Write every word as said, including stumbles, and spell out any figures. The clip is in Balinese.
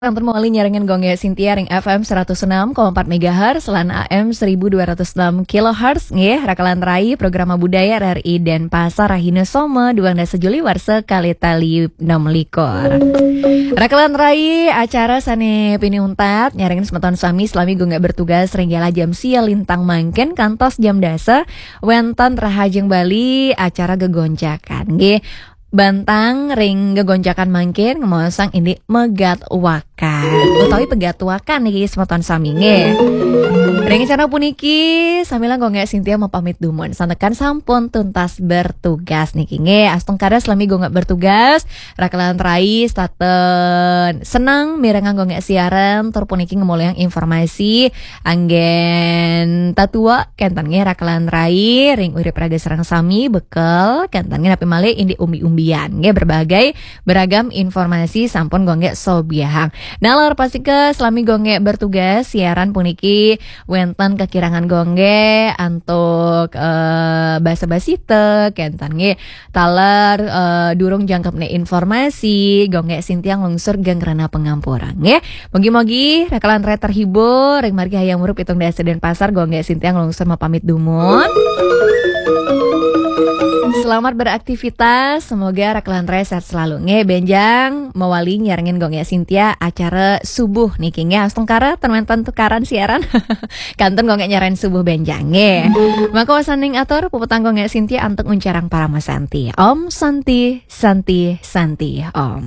Kantun mawali nyarengin Gung Gek Sintia ring F M seratus enam koma empat megahertz lan A M seribu dua ratus enam kilohertz nggih, Rakelan Rai, Programa Budaya R R I Denpasar, rahina Soma, duang dasa Juli warsa kalih tali enam likur. Rakelan Rai, acara sane pinih untat nyarengin semeton sami salami Gung Gek bertugas ring galah jam sia lintang mangkin kantos jam dasa, wenten Rahajeng Bali acara gegonjakan nggih. Bantang ring gegonjakan mangkin ngemaosang indik megat wakan utawi pegat wakan niki semeton sami nggih. Ring acara puniki sambilang Gung Gek Sintia mapamit dumun. Santukan sampun tuntas bertugas niki nggih. Astungkara salami Gung Gek bertugas, Rakelan Rai setata seneng mirengang Gung Gek siaran tur puniki ngemuliang informasi anggen tatua kenten nggih Rakelan Rai ring urip raga sareng sami, bekel kenten nggih napi malih indik umbi-umbian nggih, berbagai beragam informasi sampun Gung Gek sobiahang. Nalar pastika salami Gung Gek bertugas siaran puniki wenten kakirangan Gung Gek antuk eh, basa-basita kenten nggih, taler eh, durung jangkepne informasi, Gung Gek Sintia nglungsur geng rena pangampura nggih. Mugi-mugi Rakelan Rai terhibur ring margi Hayam Wuruk pitung dasa Denpasar, Gung Gek Sintia nglungsur mapamit dumun. Selamat beraktivitas, semoga Rakelan Rai sehat selalu nggih. Benjang mawali nyarengin Gung Gek Sintia acara subuh niki nggih. Astungkara ten wenten tukaran siaran. Kantun Gung Gek nyarengin subuh benjang nggih. Maka wasaning atur puputang Gung Gek Sintia antuk nguncarang paramasanti. Om Santi, Santi, Santi, Om.